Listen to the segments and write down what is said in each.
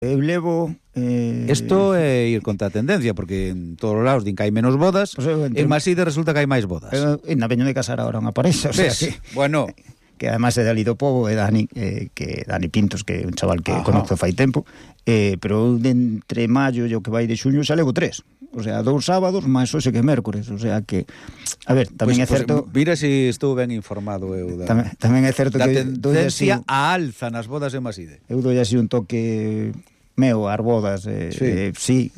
Eu levo... Isto é ir contra a tendencia, porque en todos os lados din que hai menos bodas, Pues en Maside resulta que hai máis bodas. Na veño de casar ahora unha parexa, o sea que... Bueno... que además é de ali do pobo, é Dani, que Dani Pintos, que é un chaval que conozco fai tempo, pero de entre maio e o que vai de xuño xa levo 3. O sea, 2 sábados, máis hoxe que mércores. O sea que, a ver, tamén é certo... Mira se estou ben informado eu tamén é certo da que... tendencia a alza nas bodas de Maside. Eu doi así un toque meu ás bodas, sí,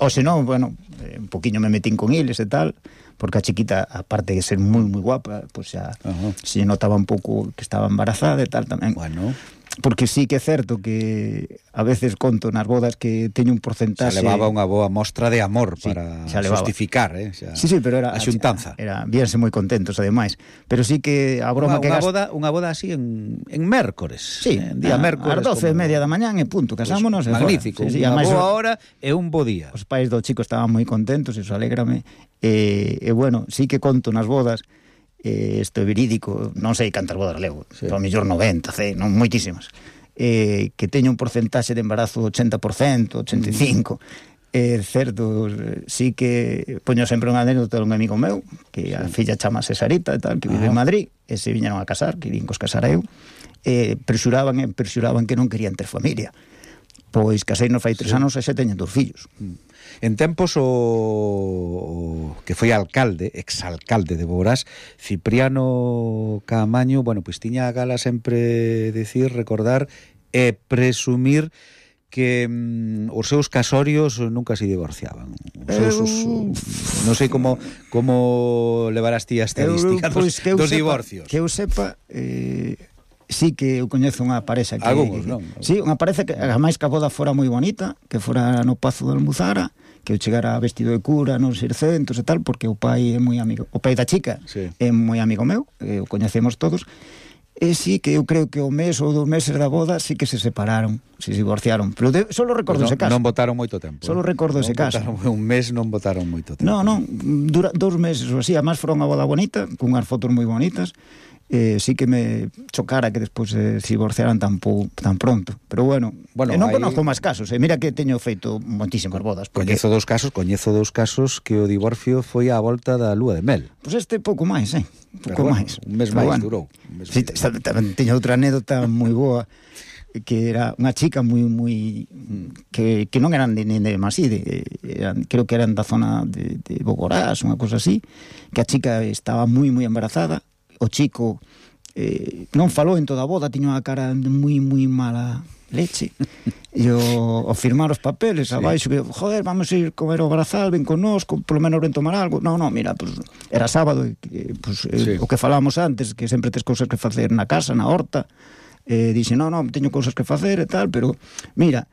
ou se non, bueno, un poquinho me metín con eles e tal, porque a chiquita, aparte de ser moi guapa, pues xa se notaba un pouco que estaba embarazada e tal tamén. Bueno, porque sí que é certo que a veces conto nas bodas que teño un porcentaxe... xa levaba unha boa mostra de amor para justificar, Sí, pero era a xuntanza. Víanse moi contentos, ademais. Pero sí que a broma unha boda así en mércores. Sí, día mércores. Ás 12:30 da mañán e punto, casámonos. Pues, magnífico, unha boa hora e un bo día. Os pais do chico estaban moi contentos, eso alégrame. E bueno, sí que conto nas bodas, isto é verídico, non sei cantas bodas levo, ao mellor 90, non moitísimas, que teño un porcentaxe de embarazo do 80%, 85%. É certo, sí que poño sempre unha anécdota un amigo meu, que a filla chamase Sarita e tal, que vive en Madrid, e se viñeron a casar, que vin cos casara eu, presuraban que non querían ter familia. Pois casei nos fai 3 anos e xa teñen 2 fillos. En tempos o que foi alcalde, exalcalde de Boborás, Cipriano Caamaño, bueno, pois tiña a gala sempre decir, recordar e presumir que os seus casorios nunca se divorciaban. Non sei como levarás ti a estadística dos divorcios. Que eu sepa... sí que eu coñezo unha parexa que... Algunos, non? Sí, unha parexa que ademais que a boda fora moi bonita, que fora no Pazo de Almuzara, que eu chegara vestido de cura nos 600 e tal, porque o pai é moi amigo, o pai da chica é moi amigo meu, o coñecemos todos, e sí que eu creo que o mes ou 2 meses da boda sí que se separaron, se divorciaron, pero solo recordo ese caso. Non botaron moito tempo. Solo recordo ese caso. Un mes non botaron moito tempo. Non, dura 2 meses ou así, además fora unha boda bonita, cunhas fotos moi bonitas. Sí que me chocara que despois se divorciaran tan pronto, pero bueno non conozco máis casos, mira que teño feito moitísimas bodas porque... coñezo dous casos que o divorcio foi á volta da lúa de mel. Pois este pouco máis, máis, un mes máis durou. Sí, teño outra anécdota moi boa, que era unha chica moi que non eran nin de Maside, creo que eran da zona de Boborás, unha cosa así, que a chica estaba moi embarazada. O chico non falou en toda a boda, tiña unha cara de moi mala leche. E o firmar os papeles abaixo, que, joder, vamos a ir comer o Brazal, ven connosco, polo menos ven tomar algo. Non, mira, pues, era sábado, o que falábamos antes, que sempre tes cousas que facer na casa, na horta. Dixe, non, teño cousas que facer e tal, pero, mira,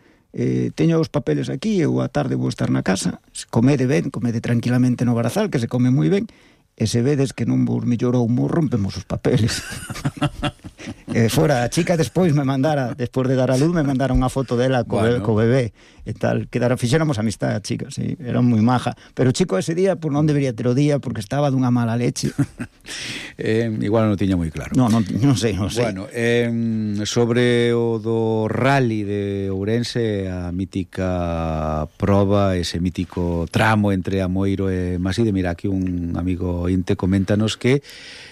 teño os papeles aquí, eu a tarde vou estar na casa, comede tranquilamente no Brazal, que se come moi ben, e se vedes que non vos mellorou moi, rompemos os papeles. Fora a chica despois despois de dar a luz, me mandara unha foto dela co bebé e tal, fixéramos amistade a chica, sí, era moi maja, pero o chico ese día non debería ter o día porque estaba dunha mala leche. Igual non tiña moi claro. Non sei. Bueno, sobre o do rally de Ourense, a mítica proba, ese mítico tramo entre Amoeiro e Maside, mira, aquí un amigo Inte coméntanos que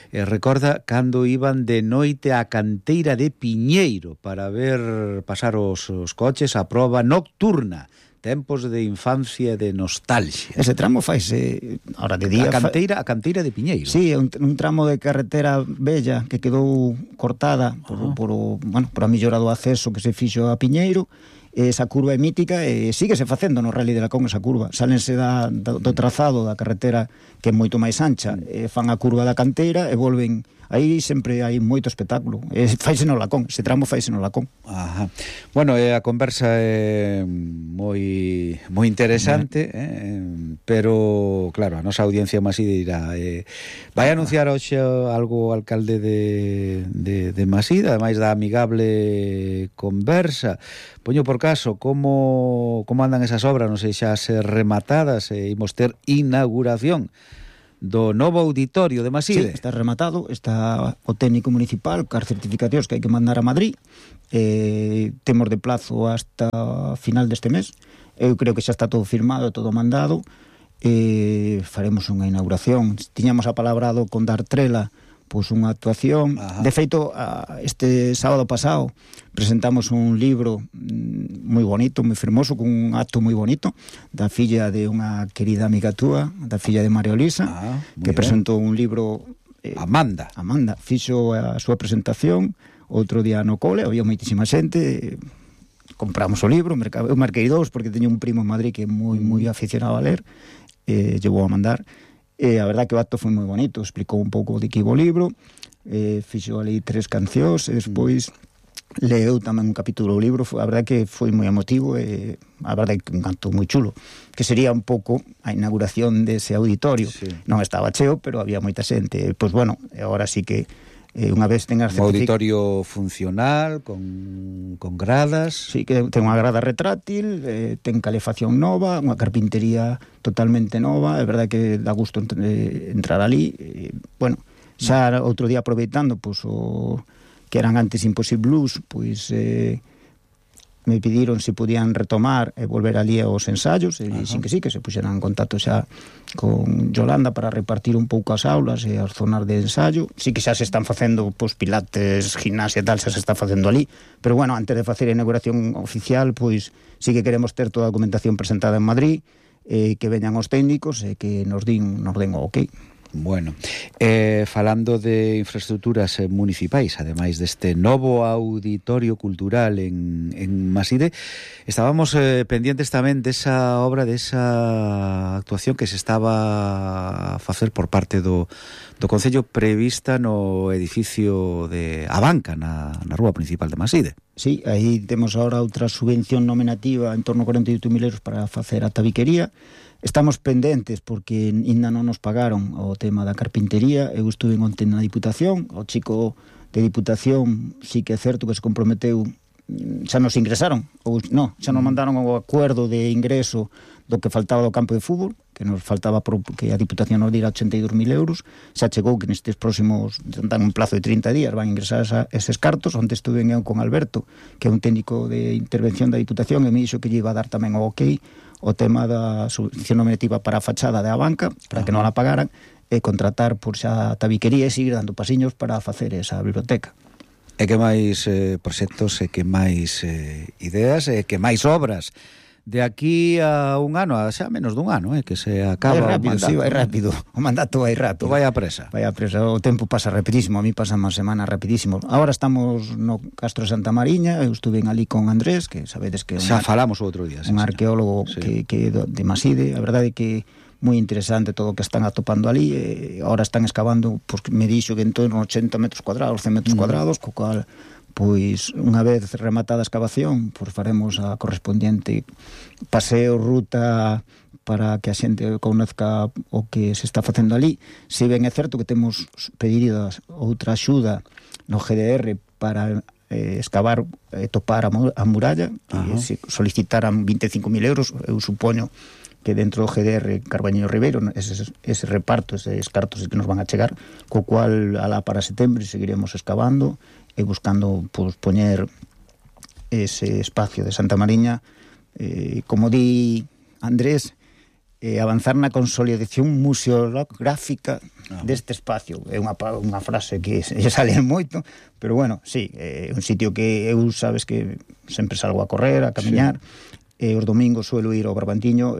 recorda cando iban de noite á canteira de Piñeiro para ver pasar os coches a proba nocturna. Tempos de infancia e de nostalgia. Ese tramo faise ahora de día. A canteira de Piñeiro. Sí, un tramo de carretera bella que quedou cortada por a mellora do acceso que se fixo a Piñeiro. Esa curva é mítica e síguese facendo no Rally de Lacón esa curva. Sálense do trazado da carretera que é moito máis ancha, fan a curva da canteira e volven. Aí sempre hai moito espectáculo. Faise no Lacón, ese tramo faise no Lacón. Ajá. Bueno, a conversa é moi interesante, pero claro, a nosa audiencia Maside dirá, vai anunciar hoxe algo o alcalde de Maside, ademais da amigable conversa. Poño por caso como andan esas obras, non sei xa ser rematadas, imos ter inauguración do novo auditorio de Maside. Sí, está rematado, está o técnico municipal cas certificacións que hai que mandar a Madrid. Temos de plazo hasta final deste mes. Eu creo que xa está todo firmado, todo mandado. Faremos unha inauguración. Tiñamos apalabrado con Dartrela pois unha actuación. De feito, este sábado pasado presentamos un libro moi bonito, moi fermoso, con un acto moi bonito da filla de unha querida amiga túa, da filla de María Olisa, que presentou un libro. Amanda fixo a súa presentación outro día no cole, había moitísima xente. Compramos o libro, eu marquei 2 porque teño un primo en Madrid que é moi aficionado a ler, llevou a mandar. A verdad que o acto foi moi bonito, explicou un pouco de que iba o libro, fixo ali 3 cancións e despois leu tamén un capítulo do libro. A verdad que foi moi emotivo e a verdad que un canto moi chulo, que sería un pouco a inauguración dese auditorio. Non estaba cheo, pero había moita xente. Pois bueno, agora sí que unha vez tengas un auditorio funcional con gradas. Sí, que ten unha grada retráctil, ten calefacción nova, unha carpintería totalmente nova. É verdade que dá gusto entrar ali. Bueno, xa outro día aproveitando pois o que eran antes Impossible Blues, pois me pediron se podían retomar e volver ali aos ensaios, e sin que sí, que se puxeran en contacto xa con Yolanda para repartir un pouco as aulas e as zonas de ensaio. Sí que xa se están facendo pois pilates, gimnasia e tal, xa se está facendo ali, pero bueno, antes de facer a inauguración oficial, pois sí que queremos ter toda a documentación presentada en Madrid, que veñan os técnicos e que nos den o ok. Bueno, falando de infraestructuras municipais, ademais deste novo auditorio cultural en Maside, estábamos pendientes tamén desa obra, desa actuación que se estaba a facer por parte do Concello, prevista no edificio de A Banca, na rúa principal de Maside. Sí, aí temos agora outra subvención nominativa en torno a 48.000 euros para facer a tabiquería. Estamos pendentes porque ainda non nos pagaron o tema da carpintería. Eu estuve onte na Diputación, o chico de Diputación sí que é certo que se comprometeu, xa nos ingresaron, ou non, xa nos mandaron o acuerdo de ingreso do que faltaba do campo de fútbol, que nos faltaba porque a Diputación nos dira 82.000 euros. Xa chegou que nestes próximos, dan un plazo de 30 días, van a ingresar eses cartos. Onte estuve eu con Alberto, que é un técnico de intervención da Diputación, e me dixo que lle iba a dar tamén o ok o tema da subvención nominativa para a fachada da Banca, para que non la pagaran, e contratar por xa a tabiquería e seguir dando pasiños para facer esa biblioteca. E que máis proxectos, e que máis ideas, e que máis obras de aquí a un ano, a xa menos dun ano, que se acaba o mandato. Sí, vai rápido, o mandato vai rápido. Vai a presa. O tempo pasa rapidísimo, a mí pasa unha semana rapidísimo. Agora estamos no Castro de Santa Mariña, eu estuve ali con Andrés, que sabedes que xa falamos outro día, un arqueólogo que de Maside. A verdade é que moi interesante todo o que están atopando ali. Agora están excavando, pois me dixo que en torno a 80 metros cuadrados, 100 metros cuadrados, co cual pois unha vez rematada a excavación, pois faremos a correspondiente paseo, ruta, para que a xente conozca o que se está facendo ali. Se ben é certo que temos pedido outra axuda no GDR para excavar e topar a muralla, que solicitaran 25.000 euros. Eu supoño que dentro do GDR Carbañeiro Ribeiro ese reparto, eses cartos que nos van a chegar, co cual alá para setembro seguiremos excavando e buscando pois, poñer ese espacio de Santa Mariña, como di Andrés, avanzar na consolidación museográfica deste espacio. É unha frase que sale moito, pero bueno, sí, é un sitio que eu sabes que sempre salgo a correr, a camiñar, os domingos suelo ir ao Barbantiño,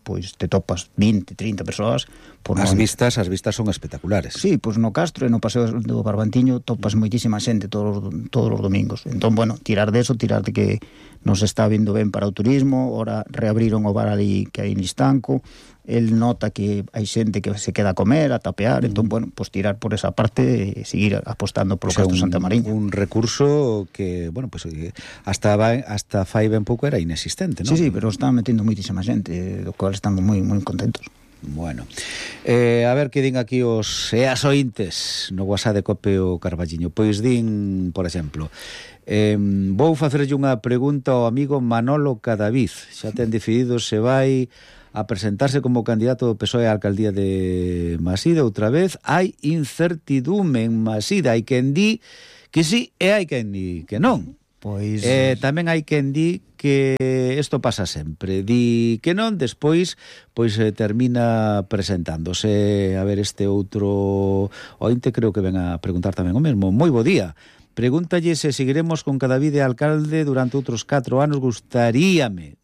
pois te topas 20, 30 persoas. As vistas son espectaculares. Sí, pois no Castro e no Paseo do Barbantiño topas moitísima xente todos os domingos. Entón, bueno, tirar de que nos está vindo ben para o turismo. Ora reabriron o bar ali que hai en Listanco. El nota que hai xente que se queda a comer, a tapear, entón, bueno, pues tirar por esa parte e seguir apostando polo Castro Santa Mariña. Un recurso que, bueno, pues hasta fai ben pouco era inexistente, non? Sí, pero están metendo moitísima xente, do cual estamos moi contentos. Bueno, a ver que din aquí os as ointes no WhatsApp de Cope o Carballiño. Pois din, por exemplo, vou facerlle unha pregunta ao amigo Manolo Cadaviz. Xa ten decidido se vai a presentarse como candidato do PSOE á alcaldía de Maside outra vez. Hai incertidume en Maside, hai quen di que sí e hai quen di que non. Pois tamén hai quen di que isto pasa sempre, di que non, despois pois termina presentándose. A ver, este outro ointe creo que ven a preguntar tamén o mesmo. Moi bo día. Pregúntalle se seguiremos con Cadavid de alcalde durante outros 4 anos. Gustaríame,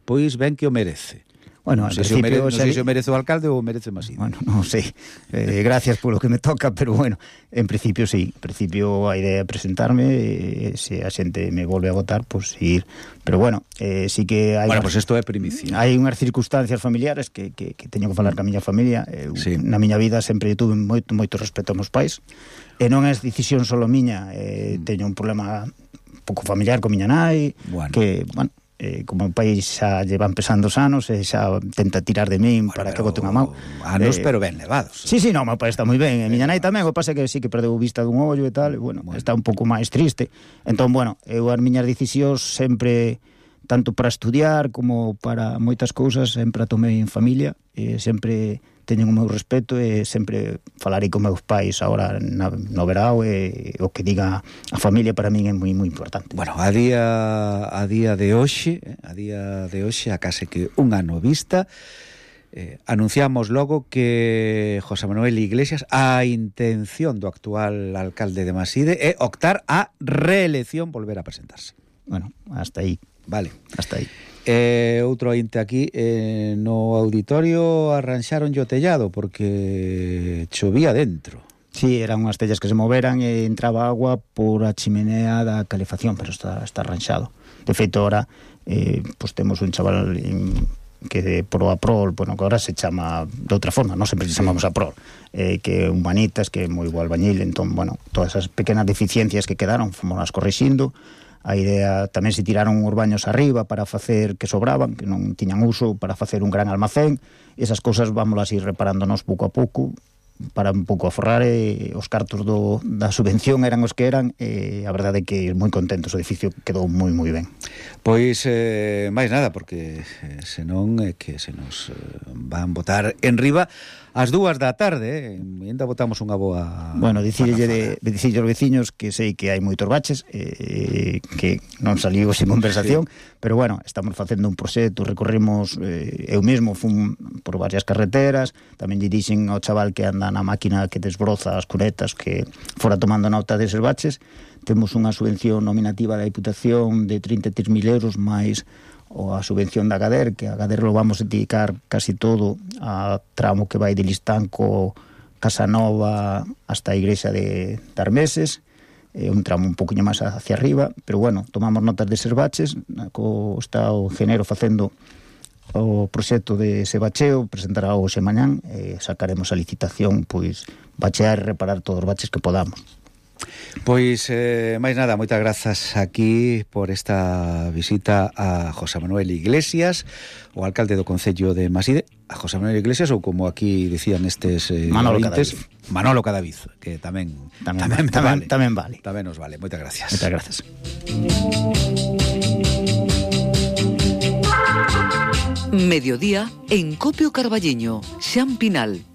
pois ben que o merece. Bueno, non sei se o merece o alcalde ou o merece Maside. Bueno, non sei. Gracias polo que me toca, pero bueno, en principio sí. En principio a idea é presentarme, se a xente me volve a votar, pois ir. Pero bueno, sí que hai... Bueno, pois isto é primicia. Hai unhas circunstancias familiares que teño que falar ca miña familia. Sí. Na miña vida sempre tuve moito respeto aos meus pais. E non é decisión solo miña. Teño un problema un pouco familiar con miña nai, bueno. Que, bueno... como o país xa llevan pesando os anos e xa tenta tirar de min, bueno, para que bote unha mão anos, pero ben levados. Sí, no, meu pai está moi ben, e miña nai tamén, o pasa que sí que perdeu vista dun ollo e tal, e bueno, está un pouco máis triste. Entón, bueno, eu as miñas decisións sempre, tanto para estudiar como para moitas cousas, sempre a tomei en familia, e sempre teñen o meu respeto, e sempre falarei con meus pais agora no verao, e o que diga a familia para min é moi importante. Bueno, a día de hoxe, a case que un ano vista, anunciamos logo que José Manuel Iglesias, a intención do actual alcalde de Maside é optar a reelección, volver a presentarse. Bueno, hasta aí. Vale, hasta aí. Outro ointe aquí, no auditorio arranxaron o tellado porque chovía dentro. Sí, eran unhas tellas que se moveran e entraba agua por a chimenea da calefacción, pero está arranxado. De feito, ahora pues temos un chaval que por o Aprol, bueno, que ahora se chama de outra forma, non sempre se chamamos Aprol, que é un manitas, que é moi bo albañil. Entón, bueno, todas esas pequenas deficiencias que quedaron fomos as corrixindo. A idea, tamén se tiraron os baños arriba para facer, que sobraban, que non tiñan uso, para facer un gran almacén. Esas cousas vámolas ir reparándonos pouco a pouco, para un pouco aforrar, os cartos da subvención eran os que eran, e a verdade é que moi contentos, o edificio quedou moi ben. Pois máis nada, porque senón é que se nos van botar en riba ás 2 da tarde, ainda botamos unha boa... Bueno, dicirlle aos veciños que sei que hai moitos baches, que non saliu sin conversación, sí. Pero bueno, estamos facendo un proxecto, recorrimos, eu mesmo fun por varias carreteras, tamén lle dixen ao chaval que anda na máquina que desbroza as cunetas, que fora tomando nota deses baches. Temos unha subvención nominativa da Diputación de 33.000 euros, máis a subvención da Gader, que a Gader lo vamos a dedicar casi todo a tramo que vai de Listanco, Casanova hasta a igrexa de Armeses, un tramo un poquinho máis hacia arriba, pero bueno, tomamos notas deses baches, está o ingeniero facendo o proxecto de ese bacheo, presentará hoxe mañán, sacaremos a licitación, pois bachear e reparar todos os baches que podamos. Pois, máis nada, moitas grazas aquí por esta visita a José Manuel Iglesias, o alcalde do Concello de Maside, a José Manuel Iglesias, ou como aquí decían estes Manolo Cadavid, que tamén vale. Tamén nos vale. Moitas gracias. Moitas gracias. Mediodía en Copio Carballiño, Xan Pinal.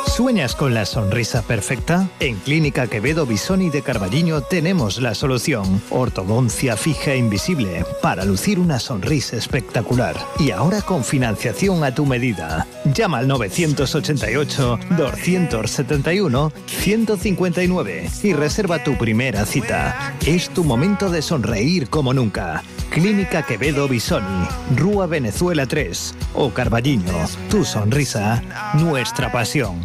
¿Sueñas con la sonrisa perfecta? En Clínica Quevedo Bisoni de Carballiño tenemos la solución. Ortodoncia fija e invisible para lucir una sonrisa espectacular. Y ahora con financiación a tu medida. Llama al 988-271-159 y reserva tu primera cita. Es tu momento de sonreír como nunca. Clínica Quevedo Bisoni, Rúa Venezuela 3 o Carballiño. Tu sonrisa, nuestra pasión.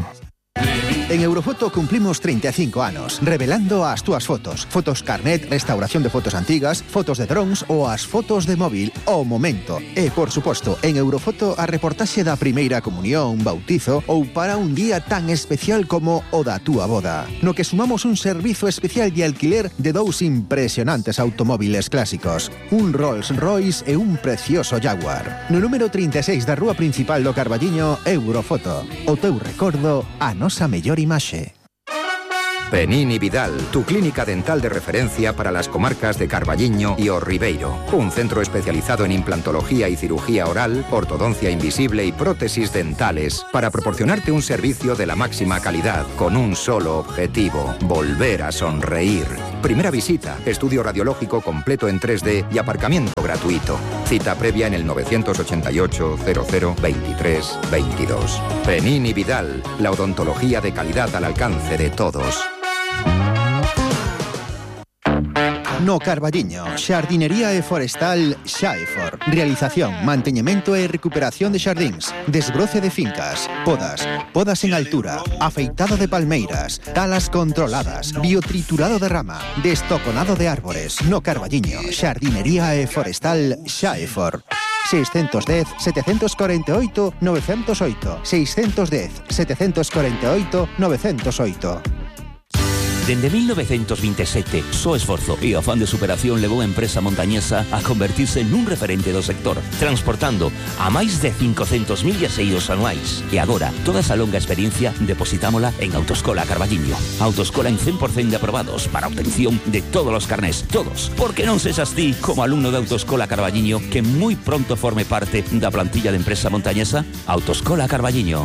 En Eurofoto cumplimos 35 anos, revelando as túas fotos. Fotos carnet, restauración de fotos antigas, fotos de drons ou as fotos de móvil ao momento. E, por suposto, en Eurofoto a reportaxe da primeira comunión, bautizo ou para un día tan especial como o da túa boda. No que sumamos un servizo especial de alquiler de 2 impresionantes automóviles clásicos. Un Rolls Royce e un precioso Jaguar. No número 36 da rúa principal do Carballiño, Eurofoto. O teu recordo, a nosa mellor imaxe. Penini Vidal, tu clínica dental de referencia para las comarcas de Carballiño y O Ribeiro. Un centro especializado en implantología y cirugía oral, ortodoncia invisible y prótesis dentales para proporcionarte un servicio de la máxima calidad con un solo objetivo: volver a sonreír. Primera visita, estudio radiológico completo en 3D y aparcamiento gratuito. Cita previa en el 988 00 23 22. Penini Vidal, la odontología de calidad al alcance de todos. No Carballiño, xardinería e forestal Xaefor. Realización, manteñemento e recuperación de xardíns, desbroce de fincas, podas en altura, afeitado de palmeiras, talas controladas, biotriturado de rama, destoconado de árbores. No Carballiño, xardinería e forestal Xaefor. 610 748 908 610 748 908. Dende 1927, só esforzo e afán de superación levou a empresa montañesa a convertirse nun referente do sector, transportando a máis de 500.000 viaxeiros anuais. E agora, toda esa longa experiencia depositámola en Autoescola Carballiño. Autoescola en 100% de aprobados para obtención de todos os carnés, todos. Porque non sexas ti, como alumno de Autoescola Carballiño, que moi pronto forme parte da plantilla de empresa montañesa. Autoescola Carballiño.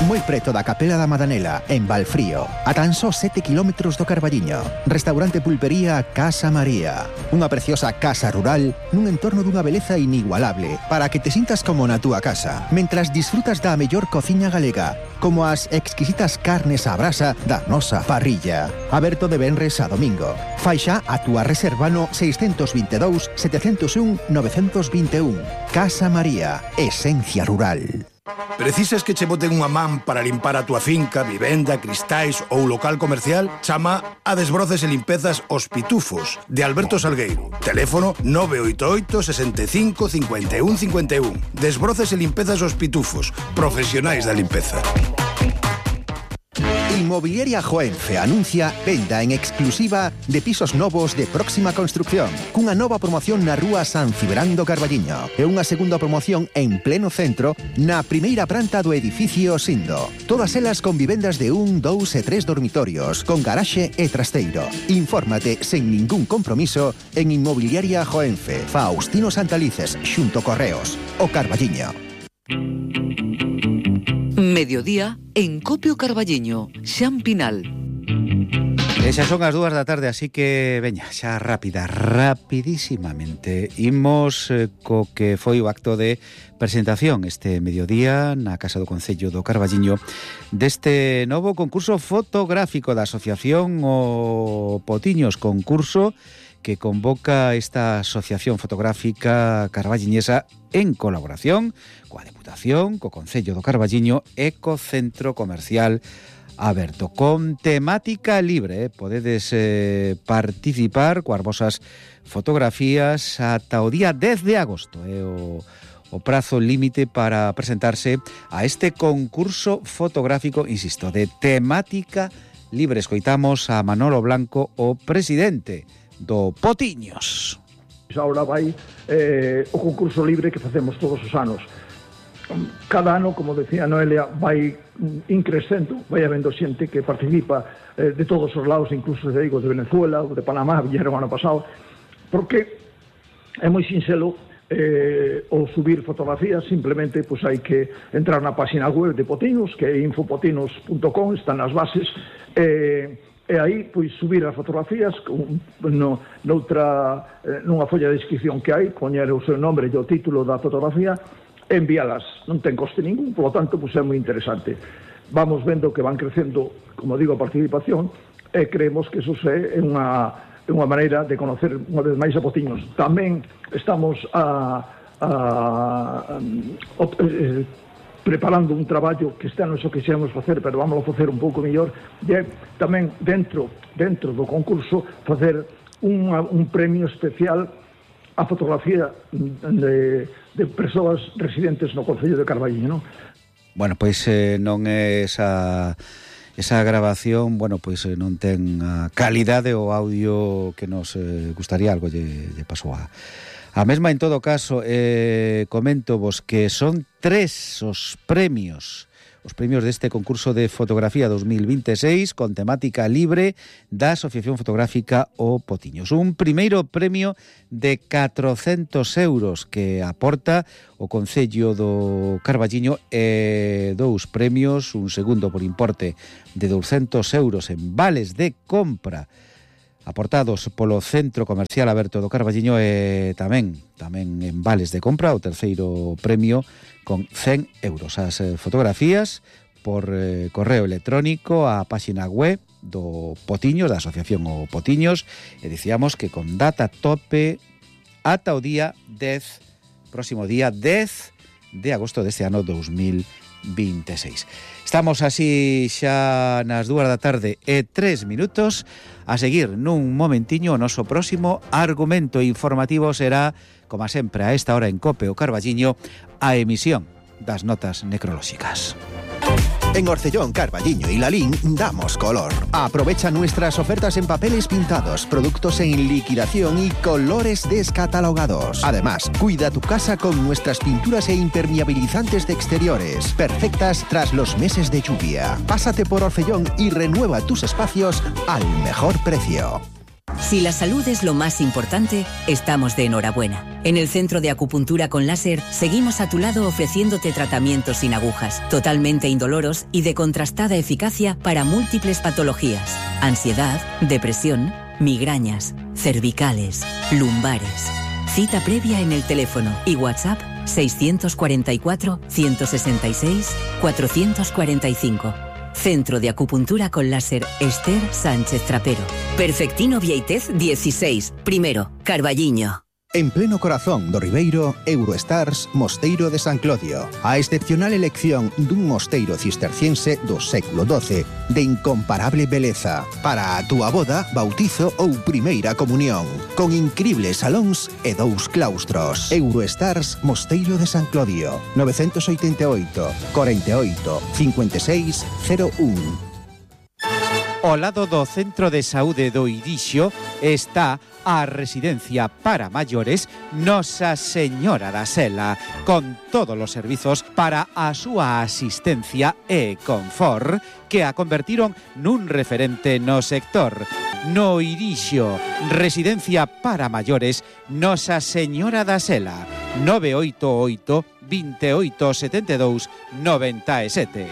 Moi preto da Capela da Madanela, en Valfrío, a tan só 7 kilómetros do Carballiño. Restaurante pulpería Casa María. Unha preciosa casa rural nun entorno dunha beleza inigualable para que te sintas como na túa casa, mentras disfrutas da mellor cociña galega, como as exquisitas carnes á brasa da nosa parrilla. Aberto de venres a domingo. Fai xa a túa reserva no 622 701 921. Casa María, esencia rural. Precisas que che boten unha man para limpar a túa finca, vivenda, cristais ou local comercial? Chama a Desbroces e Limpezas Os Pitufos, de Alberto Salgueiro. Teléfono 988 65 51 51. Desbroces e Limpezas Os Pitufos, profesionais da limpeza. Inmobiliaria Joenfe anuncia venda en exclusiva de pisos novos de próxima construcción, cunha nova promoción na rúa San Cibrán do Carballiño e unha segunda promoción en pleno centro na primeira planta do edificio Sindo. Todas elas con vivendas de 1, 2 e 3 dormitorios, con garaxe e trasteiro. Infórmate sen ningún compromiso en Inmobiliaria Joenfe, Faustino Santalices, xunto Correos, o Carballiño. Mediodía en Copio Carballiño, Xampinal. Esas son as 2 da tarde, así que veña, xa rapidísimamente imos co que foi o acto de presentación este mediodía na Casa do Concello do Carballiño deste novo concurso fotográfico da Asociación O Potiños, concurso que convoca esta Asociación Fotográfica Carballiñesa en colaboración coa Deputación, co Concello do Carballiño e co Centro Comercial Aberto, con temática libre. Podedes participar coas vosas fotografías ata o día 10 de agosto, o prazo límite para presentarse a este concurso fotográfico, insisto, de temática libre. Escoitamos a Manolo Blanco, o presidente do Potiños. Ahora vai o concurso libre que facemos todos os anos. Cada ano, como decía Noelia, vai increcendo, vai habendo xente que participa de todos os lados, incluso de Venezuela ou de Panamá, vieron ano pasado, porque é moi sinxelo ou subir fotografías. Simplemente pues hai que entrar na página web de Potiños, que é infopotinos.com, están as bases, e aí pois subir as fotografías nunha folla de descripción que hai, poñer o seu nombre e o título da fotografía, envíalas. Non ten coste ningún, polo tanto pois é moi interesante. Vamos vendo que van crecendo, como digo, a participación, e creemos que eso é unha maneira de conocer unha vez máis a Potiños. Tamén estamos preparando un traballo que este ano xo quixemos facer, pero vamos a facer un pouco mellor, e tamén dentro do concurso facer un premio especial a fotografía de persoas residentes no Concello de Carballiño, non? Bueno, pois non é esa grabación, bueno, pois non ten a calidade ou audio que nos gustaría, algo lle pasou a mesma. En todo caso, comento vos que son 3 os premios, os premios deste concurso de fotografía 2026 con temática libre da Asociación Fotográfica O Potiños. Un primeiro premio de 400 euros que aporta o Concello do Carballiño e 2 premios, un segundo por importe de 200 euros en vales de compra aportados polo Centro Comercial Aberto do Carballiño e tamén en vales de compra o terceiro premio con 100 euros. As fotografías por correo electrónico á páxina web do Potiños, da Asociación O Potiños, e dicíamos que con data tope ata o día 10, próximo día 10 de agosto deste ano 2026. Estamos así xa nas 2 da tarde e 3 minutos. A seguir nun momentiño o noso próximo argumento informativo será, como sempre a esta hora en COPE o Carballiño, a emisión das notas necrolóxicas. En Orcellón, Carballiño y Lalín damos color. Aprovecha nuestras ofertas en papeles pintados, productos en liquidación y colores descatalogados. Además, cuida tu casa con nuestras pinturas e impermeabilizantes de exteriores, perfectas tras los meses de lluvia. Pásate por Orcellón y renueva tus espacios al mejor precio. Si la salud es lo más importante, estamos de enhorabuena. En el Centro de Acupuntura con Láser seguimos a tu lado ofreciéndote tratamientos sin agujas, totalmente indoloros y de contrastada eficacia para múltiples patologías: ansiedad, depresión, migrañas, cervicales, lumbares. Cita previa en el teléfono y WhatsApp 644 166 445. Centro de Acupuntura con Láser Esther Sánchez Trapero. Perfectino Vieitez 16, primero, Carballiño. En pleno corazón do Ribeiro, Eurostars Mosteiro de San Clodio. A excepcional elección dun mosteiro cisterciense do século XII de incomparable beleza para a túa boda, bautizo ou primeira comunión, con incribles salóns e 2 claustros. Eurostars Mosteiro de San Clodio, 988 48 56 01. Ao lado do Centro de Saúde do Irixo está a residencia para maiores Nosa Señora da Sela, con todos os servizos para a súa asistencia e confort que a convertiron nun referente no sector. No Irixo, residencia para maiores Nosa Señora da Sela, 988 28 72 97.